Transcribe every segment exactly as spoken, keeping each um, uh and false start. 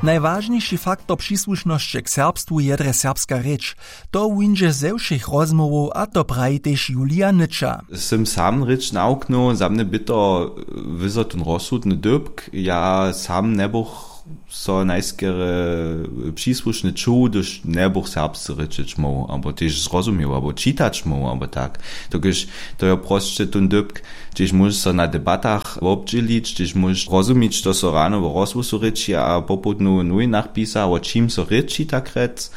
Najwažniši faktor přisłušnosće k serbstwu je drje serbska rěč. To wuńdźe ze wšěch rozmołwow, a to praji tež Julija Nyča. Sym sam rěč nawuknył, za mnje by to wyzotyn rozsudny dypk. Ja sam njebuch so najskerje přisłušny čuł, hdyž njebuch serbsce rěčeć móhł abo tež zrozumił abo čitać móhł abo tak. Dokelž to je prosće tón dypk, hdźež móžeš so na debatach wobdźělić, hdźež móžeš rozumić, što so rano w rozhłosu rěči a popołdnju w nowinach pisa, wo čim so rěči tak rjec.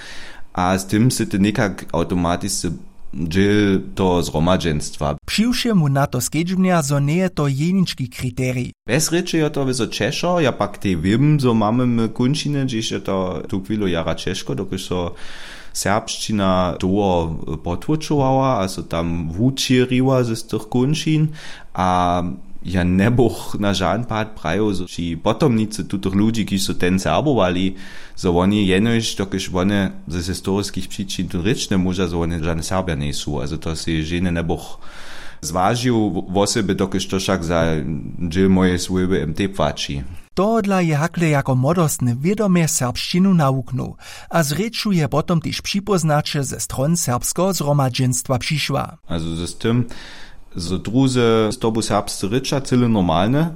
A z tym sy ty někak awtomatisce dźěl toho zhromadźenstwa. Přiwšěmu na to skedźbnja, zo njeje to jenički kriterij. Bez rěče jo to wězo ćežko, ja pak tej wěm, zo mamy my kónčiny, hdźež je to tuchwilu jara ćežko, dokelž so serbšćina dołho potłóčowała a so tam wućěriła z tych kónčin. A ja njebuch na žan pad prajił, zo při potomnicy tutych ludźi, kiž su ten serbowali, zo woni jenož dokelž wone z historiskich přičin tu rěč njemóža, zo wone žane serbja njejsu, a zo to sej ženje njebuch zwažił wosebje, dokelž to wšak za dźěl mojeje swójby mtej płaći. Tohodla je hakle jako młodostny wědomje serbšćinu nawuknył a z rěču je potom tež připóznaće ze stron serbskeho zhromadźenstwa přišła. A z tym zo druzy z tobu serbsce rěča, cyle normalne.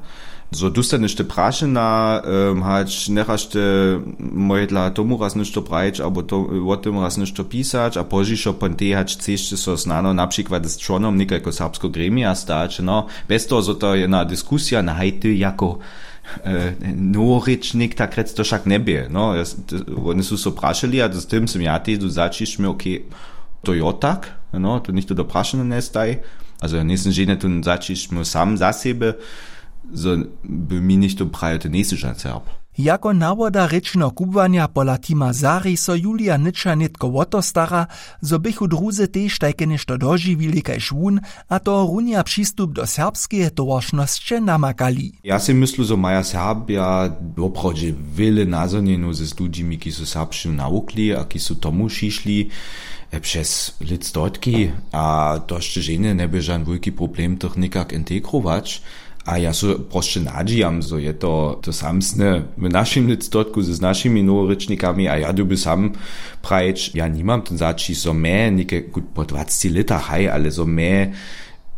Zo dóstaneš te prašena, hač njechaš te mojedla tomu raz něšto prajić abo to wo tym raz něšto pisać a pozdźišo pon tej hač chceš ty so snano na přikład z čłonom někajko serbskeho gremija stać, no, bez toho zo to jedna diskusija na hajty jako noworěčnik tak rjec to wšak njebě, no. Wone su so prašeli a z tym sym ja tež tu zaćišć měł, okay, to jo tak, no, to něchtó do prašenja njestaj. A zo ja njejsym ženje tón zaćišć měł sam za sebje, zo by mi něchtó prajił, ty njejsy žan serb. Jako nawoda rěčneho kubłanja pola tima zari so Julija Nyča nětko wo to stara, zo běchu druzy tež tajke něšto dožiwili kaž wón, a to runja přistup do serbskeje towaršnosće namakali. Ja sej myslu, zo maja serbja woprawdźe wjele nazhonjenow z ludźimi kiž su serbšćinu nawukli a kiž su tomu přišli přez lětstotki. A to sće ženje njebě žan wulki problem tych někak integrować. A ja so prosće nadźijam, zo je to to samsne w našim lětstotku z našimi noworěčnikami a ja dyrbju sam prajić, ja nimam ten zaćišć zo mje něke po dwaceći lětach haj ale zo mje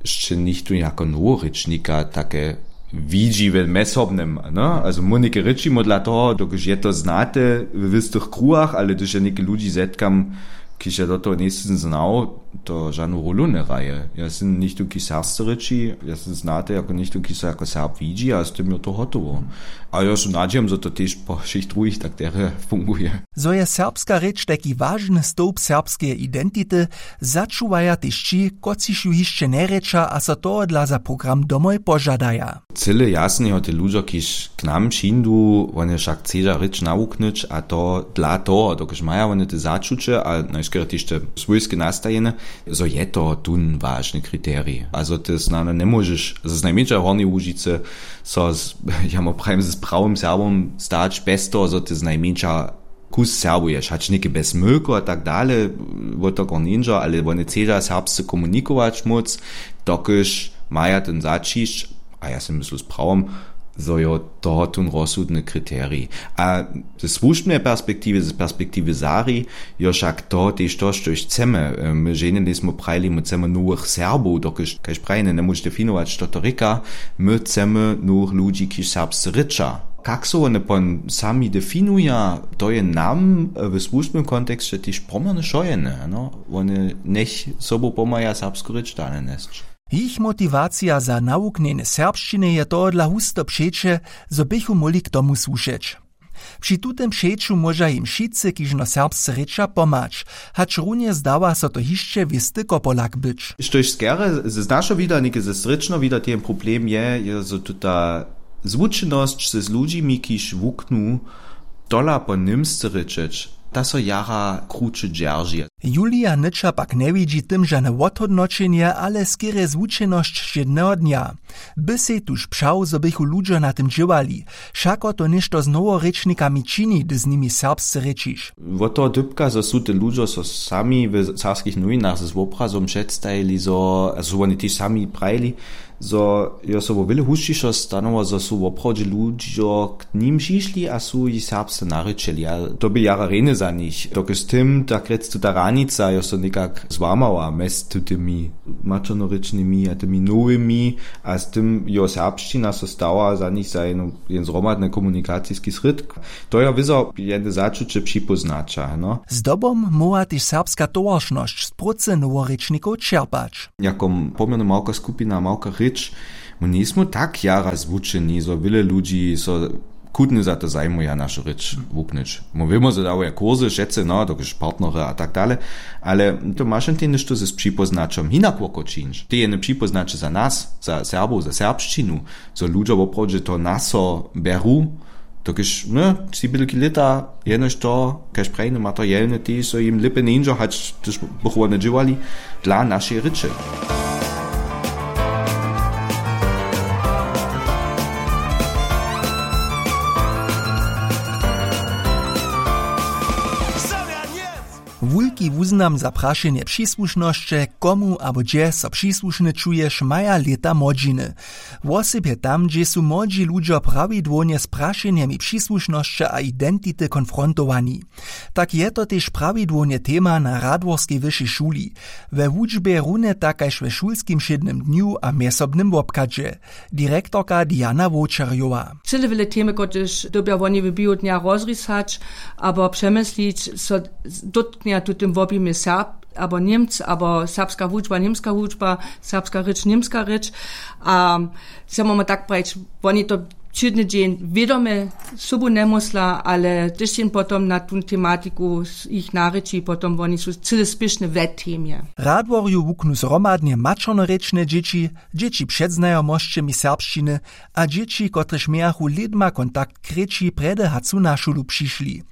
sće něchtó jako noworěčnika take widźi w mjesobnym, no. A zo móhł něke rěči módla toho dokelž je to znate w wěstych kruhach ale hdyž ja něke ludźi zetkam, kiž ja do toho njejsym znał, to žanu rólu njehraje. Ja sym něchtó kiž serbsce rěči, ja sym znate jako něchtó kiž so jako serb widźi a z tym jo to hotowo. A jo so nadźijam zo to tež po wšěch druhich tak derje funguje. Zo je serbska rěč tajki wažny stołp serbskeje identity, začuwaja tež ći, kotřiž ju hišće njerěča a so tohodla za program domoj požadaja. Cyle jasne jo te ludźo kiž k nam přińdu wone wšak chcedźa rěč nawuknyć a to dla toho dokelž maja wone te začuće a najškerje tež te swójske nastajene, zo je to tón wažny kriterij a zo ty snano njemóžeš z najmjeńša hornjeje łužicy so z ja mu prajim z prawym serbom stać bez toho zo ty z najmjeńša kus serbuješ hač něke bez mylku a tak dale. Wo to kor njeńdźo ale wone chcedźa serbsce komunikować móc, dokelž maja ten zaćišć. A ja sej myslu z prawom, zo jo to tón rozsudny kriterij. A ze słužbneje perspektiwy z perspektiwy zari jo wšak to tež to štož chcemy. My ženje njejsmy prajili my chcemy nowych serbow dokelž kaž prajene njemóžeš definować što to rěka. My chcemy nowych ludźi kiž serbsce rěča. Kak so wone pon sami definuja, to je nam w słužbnym konteksće tež pomjerny wšojene, no. Wone njech sobu pomhaja serbsku rěč dale njesć. Jich motiwacija za nawuknjenje serbšćiny je tohodla husto přeće, zo běchu móhli k tomu słušeć. Při tutym přeću móža jim wšitcy kižno serbsce rěča pomhać, hač runje zdawa so to hišće wěsty kopolak być. Štož skerje z našeho wida něke ze srěčneho wida ten problem je, je zo tuta zwučenosć z ludźimi kiž wuknu tola po němsce rěčeć, ta so jara kruće dźerži. Julija nyča pak njewidźi tym žane wothódnoćenje ale skerje zwučenosć wšědneho dnja. By sej tuž přał zo běchu ludźo na tym dźěłali, wšako to něšto z noworěčnikami čini hdy z nimi serbsce rěčiš. Wot toho dypka zo su te ludźo so sami w serbskich nowinach z wobrazom předstajili zo a su woni tež sami prajili, Zo jo so wo wjele husćišo stanowa, zo su woprawdźe ludźo k nim přišli a su jich serbsce narěčeli. A to bě jara rjenje za nich. Dokelž z tym, tak rjec, tuta hranica jo so někak złamała mjez tutymi maćernorěčnymi a tymi nowymi, a z tym jo serbšćina so stała za nich za jedno, jen zhromadny komunikaciski srědk. To jo wězo jedne začuće připóznaća, no. Zdobom móhła tež serbska towaršnosć z prócy noworěčnikow čerpać. Jako pomjerno małka skupina, małka rěč, my njejsmy tak jara zwučeni, zo wjele ludźi so chutnje za to zajmuja, našu rěč wuknyć. My wěmy, zo dawuja kursy wšetcy, no, dokelž partnery a tak dale, ale to maš jen něšto z připóznaćom hinak woko čińć. Ty jene připóznaće za nas, za Serbow, za serbšćinu, zo ludźo woprawdźe to na so bjeru, dokelž, ne, tři bělki lěta, jenož to, kaž prajny materialne tež, zo jim lěpje njeńdźo, hač hdyž bychu wone dźěłali, dla našej rěče. Wulki wuznam za prašenje přisłušnosće, komu abo hdźe so přisłušny čuješ, maja lěta młodźiny. Wosebje tam, hdźež su młodźi ludźo prawidłownje z prašenjemi přisłušnosće a identity konfrontowani. Tak je to tež prawidłownje tema na Radworskej wyšej šuli. We wučbje runje tak kaž we šulskim wšědnym dnju a mjezsobnym wobchadźe. Direktorka Diana Wowčerjowa. Cyle wjele temy, kotrež dyrbja woni w běhu dnja rozrisać abo přemyslić, so dótknja tutym wobjimje Serb abo Němc, abo serbska wučba, němska wučba, serbska rěč, němska rěč. A chcemy tak prajić, woni to wšědny dźeń wědomje sobu njemysla, ale tež jen potom na tu tematiku jich narěči, potom woni su cyle spěšne we temje. Radworju wuknu zhromadnje maćernorěčne dźěći, dźěći před znajomosćemi serbšćiny a dźěći, kotrež mějachu lědma kontakt k rěči, prjedy hač su na šulu přišli.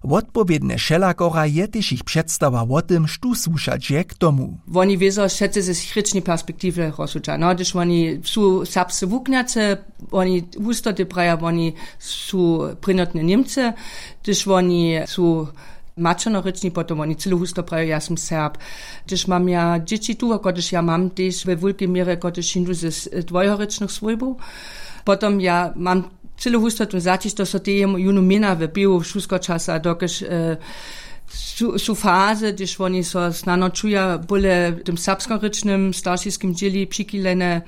Wotpowědnje wšelakora je tež jich předstawa wo tym, štó słušać je k tomu. Woni wězo wšetcy ze rěčnej perspektiwy rozsudźa. No, hdyž woni su serbsce wuknjace, woni hustoty praja, woni su prěnjotne Němcy, hdyž woni su maćernorěčni, potom woni cyle husto praja, ja sym Serb. Hdyž mam ja dźěći tu, kotrež ja mam tež we wulkej měrje, kotrež hińdu z dwojhorěčnych swójbow, potom ja mam cyle husto tu zaćišćo, so tež junu měna w běhu šulskeho časa, dokelž, e, su, su fazy, hdyž woni so snano čuja bóle w tym serbskorěčnym staršiskim dźěli přichilene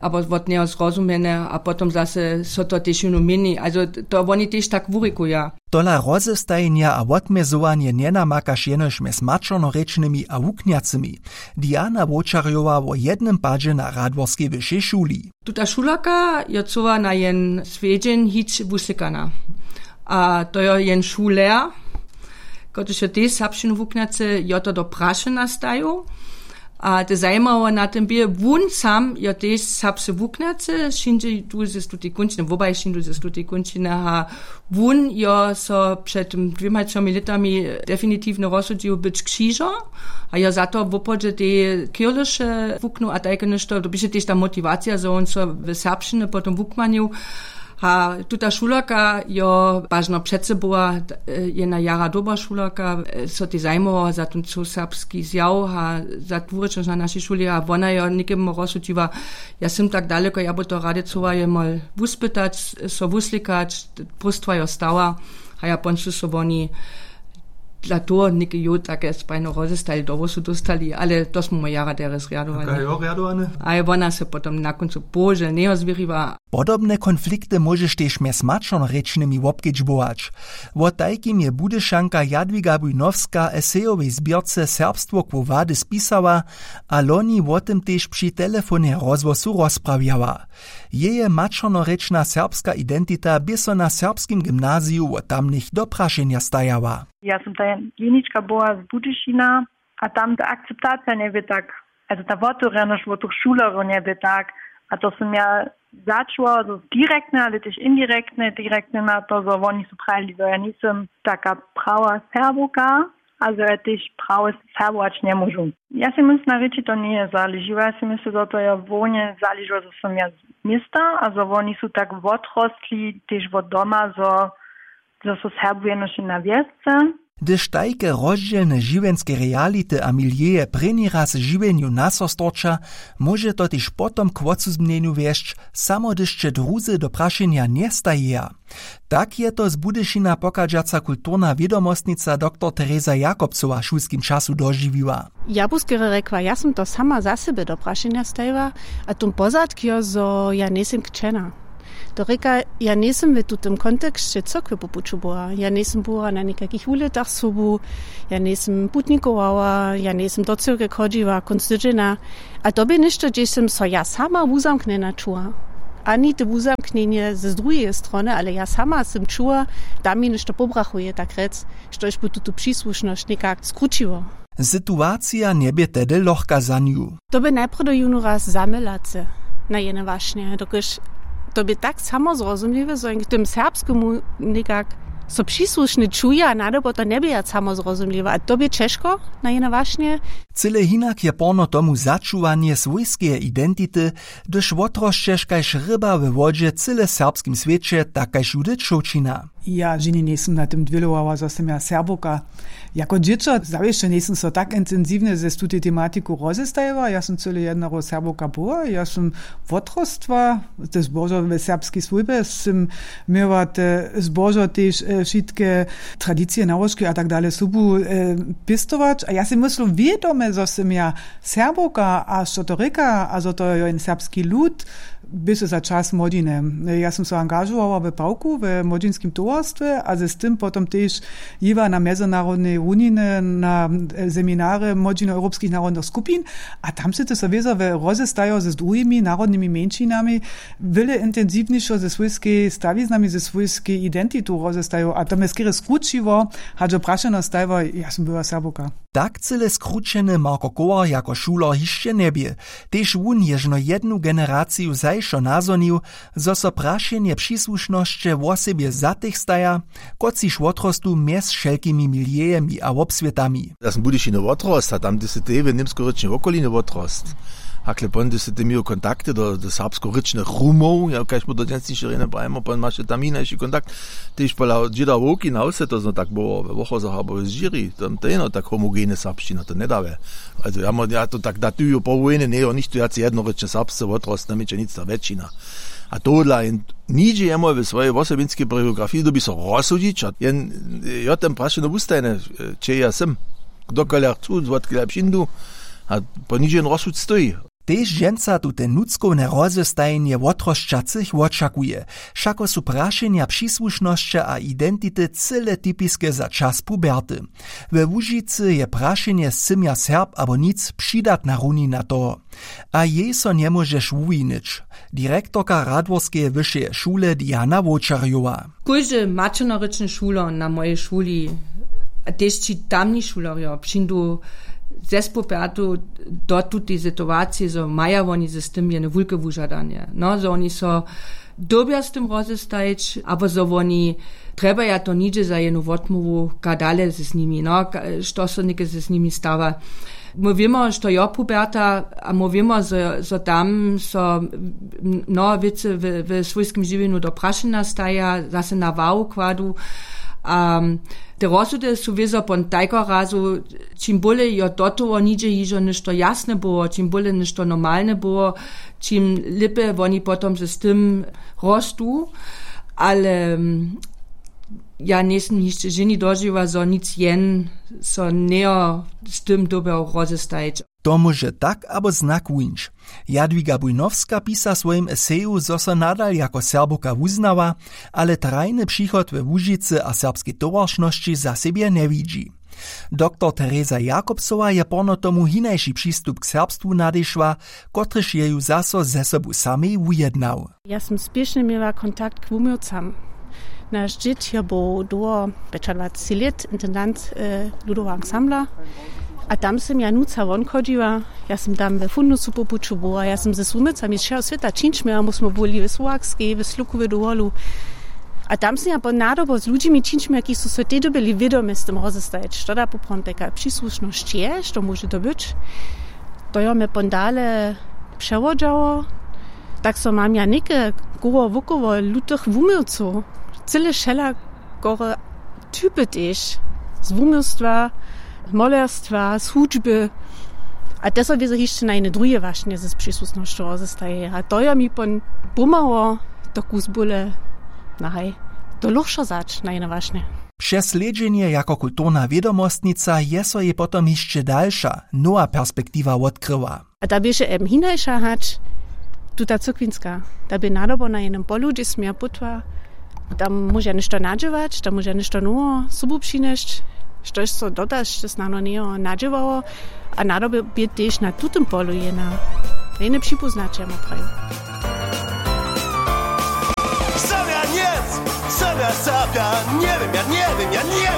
abo wot njeho zrozumjene, a potom zase so to tež junu měni. Also to woni tež tak wurikuja. Tola rozestajenja a wotmjezowanje njenamakaš jenož mjez maćernorěčnymi a wuknjacymi. Diana Wowčerjowa wo jednym padźe na Radworskej wyšej šuli. Tuta šulerka jo chcyła na jen swjedźeń hić wuslěkana. A to jo jen šuler, kotryž jo tež serbšćinu wuknjacy, jo to do prašenja stajił. A te zajimało na tym bě, wón sam jo tež serbsce wuknjacy, wšědźe tu ze stutej kónčiny, wobaj wšědźe ze stutej kónčiny, a wón jo so před dwěma třomi lětami definitiwnje rozsudźił być křižo. A jo za to wopodźe te kirlyše wuknył a tajke něšto, to běše tež ta motiwacija, zo wón so w serbšćiny potom wukmanił. A tuta šulerka jo wažno před sebu, e, jedna jara dobra šulerka, e, so tež zajimowała za ten cył serbski zjaw a za dwurěčnosć na našej šuli, a wona jo někemu rozsudźiła: Ja sym tak daleko, ja by to rady chcyła jemol wuspytać, so wuslěkać, próstwa jo stała. A ja pon su so woni dla toho něke jo take spajno rozestali, dołho su dóstali, ale to smy mój jara derje zrjadowali. A je wona se potom na kóncu bohužel njeho zwěriła. Podobne konflikty móžeš tež mjez maćernorěčnymi wobkedźbować. Wo tajkim je Budyšanka Jadwiga Bujnowska w esejowej zběrce Serbstwo quo vadis pisała a loni wo tym tež při telefonje rozhłosu rozprawjała. Jeje maćernorěčna serbska identita bě so na serbskim gymnaziju wo tamnych do prašenja stajała. Ja sym ta jenička była z Budyšina a tam ta akceptacija njebě tak, also ta wotewrjenosć wot tych šulerjow njebě tak, a to sym ja začuła, zo direktnje, ale tež indirektnje, direktnje na to, zo woni su prajili, zo ja njejsym taka prawa Serbowka, a zo ja tež prawy Serbować njemóžu. Ja sej mysla, na rěči to njeje zaležiło, ja sej mysla, zo to je hłownje zaležiło, zo sym ja z města a zo woni su tak wotrostli tež wot doma, zo, zo su Serbow jenož na wjesce. Hdyž tajke rozdźělne žiwjenske reality a milieje prěni raz w žiwjenju na so storča, móže to tež potom k wotcuzbnjenju wjesć, samo hdyž će druzy do prašenja njestajeja. Tak je to z Budyšina pochadźaca kulturna wědomostnica doktor Tereza Jakobcowa w šulskim času dožiwiła. Ja bu skerje rjekła, ja sym to sama za sebe do prašenja stajiła, a tón pozadk jo, zo ja njejsym kćena. To rěka, ja njejsym w tutym konteksće cyrkwje po puću była. Ja njejsym była na někajkich wuletach sobu, ja njejsym putnikowała, ja njejsym do cyrkwje chodźiła kónc tydźenja. A to bě něšto, hdźež sym so ja sama wuzamknjena čuła. Ani te wuzamknjenje z druheje strony, ale ja sama sym čuła, tam mi něšto pobrachuje, tak rjec, štož by tutu přisłušnosć někak skrućiło. Situacija njebě tehdy lochka za nju. To bě najprjedy jónu raz zamylace na jene wašnje, dokelž to bě tak samozrozumliwe, zo jen k tym serbskemu někak so přisłušny čuje a nadobo to njebě wjac samozrozumliwe. A to bě ćežko na jene wašnje. Cyle hinak je porno tomu začuwanje swójskeje identity, hdyž wotrosćeš kaž ryba we wodźe cyle w serbskim swěće, tak kaž Judith Šołćina. Ja ženje njejsym na tym dwělowała, zo sym ja Serbowka. Jako dźěćo zawěsće njejsym so tak intensiwnje z tutej tematiku rozestajiła. Ja sym cyle jednaro Serbowka była. Ja sym wotrostła, te zbožo we serbskej swójbje sym měła, te zbožo tež e, wšitke tradicije, nałožki a tak dale sobu e, pěstować. A ja sej myslu wědome, zo sym ja Serbowka a što to rěka a zo to jo jen serbski lud, běše za čas młodźiny. Ja sym so angažowała w pawku w młodźinskim towarstwje a z tym potom tež jěła na mjezynarodnej runiny na e, seminary młodźinow europskich narodnych skupin. A tam sy ty so wězo we rozestajo z druhimi narodnymi mjeńšinami wjele intensiwnišo ze swójskej stawiznami, ze swójskej identitu rozestajo a to mje skerje skrućiło, hač jo prašeno stajiło, ja sym była Serbowka. Tak cyle skrućeny Marko Kołar jako šuler hišće njebě. Tež wón je žno jednu generaciju zašo nazhonił, zo so prašenje přisłušnosće wosebje za tych staja, kotřiž wotrostu mjez wšelkimi milieami a wobswětami. Ja sym w Budyšinje wotrost a tam ty sy tej w němskorěčnej wokolinje wotrost. Hakle pon ty sy ty měł kontakty do, do serbskorěčnych Rumow, ja kaž mu do dźensnišeho rjena prajemo, pon maše tam hinaši kontakt. Tež pola dźěda wowki na wse to zno tak było we Wochozach abo w Žiri, tam to jeno tak homogene serbšćina to njedawe. Also ja, mo- ja to tak datuju po wojnje njejo nichtó wjace jednorěčne serbsce wotrost, namjeće nic ta wjetšina. A tohodla jen nihdźe jemu we swojej wosobinskej biografiji dobi so rozsudźić a jen jo ten prašeno wustajne, če ja sym, kdokelja chcu, zwotkelja přińdu, a po nihdźe jen rozsud stoji. Tež dźensa tute nutřkowne rozestajenje wotrosćacych wočakuje. Wšako su prašenja přisłušnosće a identity cyle typiske za čas puberty. We Łužicy je prašenje sym ja Serb abo nic přidatna runina toho. A jej so njemóžeš wuwinić. Direktorka Radworskeje wyšeje šule Diana Wowčerjowa. Kóždy maćernorěčny šuler na mojej šuli a tež ći tamni šulerjo přińdu zespopjertu do tutej situacije, zo maja woni z tym jene wulke wužadanje, no zo woni so dyrbja z tym rozestajić abo zo woni trjebaja to nihdźe za jenu wotmołwu, ka dale z nimi, no, ka- što so něke z nimi stawa. My wěmo, što jo puberta, a my wěmo, zo, zo tam so mnoho wěcy w, w swójskim žiwjenju do prašenja staja, zase na wahu kładu. A te rozsudy su wězo pon tajkeho razu, čim bóle jo do toho nihdźe hižo něšto jasne było, čim bóle něšto normalne było, čim lěpje woni potom z tym rostu. Ale ja njejsym hišće ženje dožiwa, zo nic jen so njejo z tym dyrbjał rozestajić. To móže tak abo znak wuńć. Jadwiga Bujnowska pisa w swojim eseju, zo so nadal jako Serbowka wuznała, ale trajny přichod we Łužicy a serbskej towaršnosći za sebje njewidźi. Doktor Tereza Jakobsowa je porno tomu hinaši přistup k serbstwu nadešła, kotryž je ju zaso ze sobu samej wujednał. Ja sym spěšnje měła kontakt k wuměłcam. Naš dźěd jo był dołho pjećadwaceći lět intendant ludoweho ansambla. A tam sym ja nuca wonchodźiła. Ja sym tam we fundusu po puću była, ja sym ze wuměłcami z wšeho swěta čińć měła, my smy byli w słowakskej, w slukowej dowolu. A tam sym ja pon nadobo z ludźimi čińć měła, kiž su so tej dyrbjeli wědomje z tym rozestajić, što da poprawom tajka přisłušnosć je, što móže to być. To jo mje pon dale přewodźało. Tak so mam ja něke koło wokoło lutych wuměłcow, cyle wšelakore typy tež. z wuměłstwa, z molerstwa, z hudźby. A te so wězo hišće na jene druhe wašnje z přisutnosću rozestaje a to jo mi pon pomhało to kus bóle nahaj to lóchšo zać na jene wašnje. Přez slědźenje jako kulturna wědomostnica je so jej potom hišće dalša nowa perspektiwa wotkryła. A ta běše em hinaša hač tuta cyrkwinska, ta bě nadobo na jenym polu hdźež směr putła. Tam móža něšto nadźěłać, tam móža něšto noweho sobu přinjesć, štož so dotaž snano njeho nadźěłało. A nadobje bě tež na tutym polu jena jene připóznaće ma prajił. Zabja njec, zabja zabja, njewěm ja njewěm ja njewěm.